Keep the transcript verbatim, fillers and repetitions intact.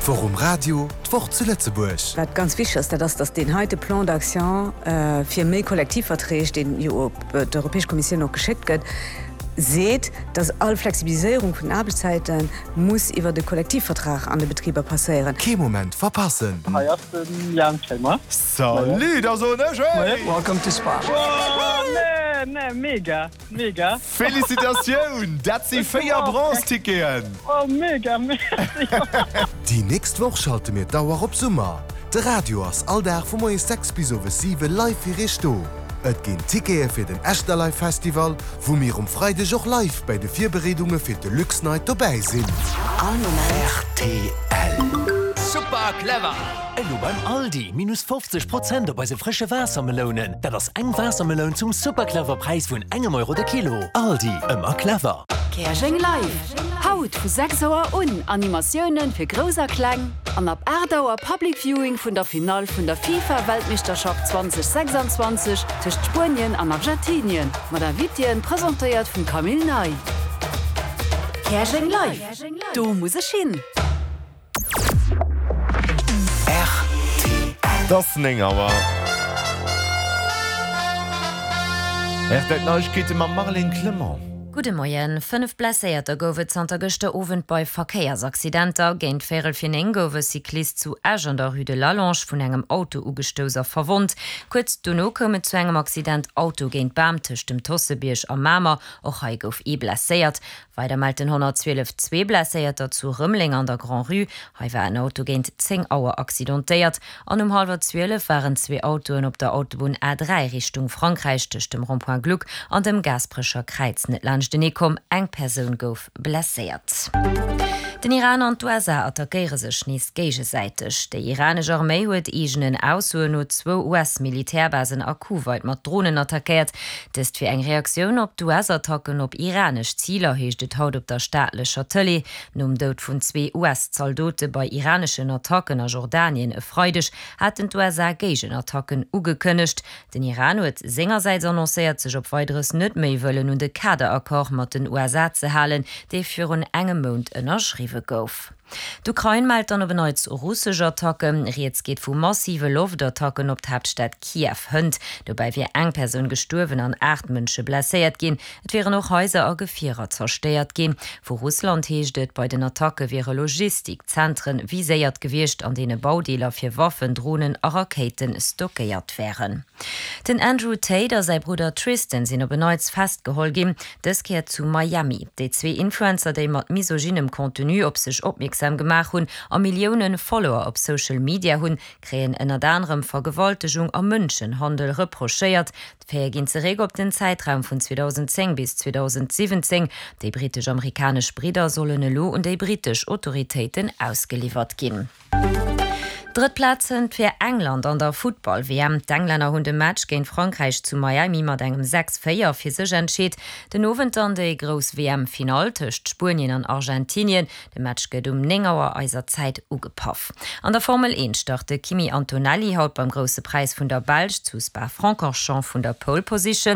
D'Woch um Radio, d'Woch zu Lëtzebuerg. Wat ganz wichteg ass, dat ass, datt deen heite Plan d'action fir méi Kollektivverträg, deen jo op d'Europäesch Kommissioun och geschéckt gëtt, seet, datt all Flexibiliséierung vun den Aarbechtszäite muss iwwert e Kollektivvertrag an de Betriber passéieren. Kee Moment verpassen! Hei ass den Jan Kremer. Salut, da soen ech hey! Welcome to Spa. Oh nee, nee, mega, mega. Felicitatioun, dat si véier Bronze-Ticketen! Oh mega, merci. Déi nächst Woch schalte mir d'Auer op Summer. De Radio ass all Dag vu moies sechs bis owes siwe live fir iech do. Et ginn Tickete fir den Echterlive Festival, wou mir um Freideg och live bäi de Virbereedunge fir d'Deluxe Night dobäi sinn. All Moment. Rtl. Super clever! Elo beim Aldi, minus fofzeg Prozent op eise frësche Waassermelounen. Dat ass eng Waassermeloun zum super clever Präis vun engem Euro de Kilo. Aldi, ëmmer clever! Käerjeng Live! Haut vu sechs Auer un Animatiounen fir Grouss a Kleng an ab aacht Auer Public Viewing vun der Finall vun der FIFA Weltmeeschterschaft zweitausendsechsundzwanzeg tëscht Spuenien an Argentinien mat Invitéen, presentéiert vum Camille Ney. Käerjeng Live! Do muss ech hin! Rtl. Et ass néng Auer. Rtl Neiegkeete mam Marlène Clement. Gudde Moien. Fënnef Blesséierter gouf et zanter gëschter Owend bei Verkéiersaccidenter. Géint véierel vir néng gouf e Cyclist zu Esch an der Rue de Lallange vun engem Auto ugestouss a verwonnt. Kuerz dono koum et zu engem Accident Auto géint Bam tëscht dem Tossebierg a Mamer. Och hei gouf ee blesséiert. Weider mellt den honnertzwielef zwee Blesséierter zu Rëmeleng an der Grand-Rue. Hei war en Auto géint zéng Auer accidentéiert an um hallwer zwielef waren zwee Autoen op der Autobunn A dräi Richtung Frankräich tëscht dem Rond-point Gluck an dem Gaasperecher Kräiz net laanschtenee komm. Eng Persoun gouf blesséiert. Den Iran an d'U S A attackéiere sech nees géigesäiteg. Déi iranesch Arméi huet eegenen Aussoen no zwou U S-Militärbasen a Kuwait mat Dronen attackéiert. Dëst wier eng Reaktioun op d'U S-Attacken op iranesch Ziler, heescht et haut op der staatlecher Tëlee. Nom Doud vun zwee U S-Zaldote bei iraneschen Attacken a Jordanien e Freideg haten d'U S A Géigenattacken ugekënnegt. Den Iran huet sengersäits annoncéiert, sech op Weideres net méi wëllen un de Kaderaccord mat den U S A ze halen, dee virun engem Mount ënnerschriwwe gouf. D'Ukrain mellt dann op en Neits russesch Attacken. Rieds geet vu massive Loftattacken op d'Haaptstad Kiew hënt. Dobäi wier eng Persoun gestuerwen an aacht Mënsche blesséiert ginn. Et wieren och Haiser a Gefierer zerstéiert ginn. Vu Russland heescht et, bei den Attacke wiere Logistikzentren viséiert gewiescht, an deene Baudeeler fir Waffen, Dronen a Rakéite stockéiert wären. Den Andrew Tate a säi Brudder Tristan sinn op en Neits festgeholl ginn, dës Kéier zu Miami. Déi zwee Influencer, déi mat misogynem Contenu op sech opmierksam gemaach hunn a Millioune Follower op Social Media hunn, kréien ënnert anerem Vergewaltegung a Mënschenhandel reprochéiert. D'Faite ginn zeréck op den Zäitraum vun zweedausendzéng bis zweedausensiwwenzéng. Déi brittesch-amerikanesch Bridder sollen elo un déi brittesch Autoritéiten ausgeliwwert ginn. Drëtt Plaz hënt fir England an der Futtball-W M. D'Englänner hunn de Match géint Frankräich zu Miami mat engem sechs, véier fir sech entscheet. Den Owend dann déi grouss W M-Finall tëscht Spuenien an Argentinien. De Match gëtt um néng Auer eiser Zäit ugepaff. An der Formel eent start de Kimi Antonelli haut beim Grousse Präis vun der Belsch zu Spa-Francorchamps vun der Pole Position.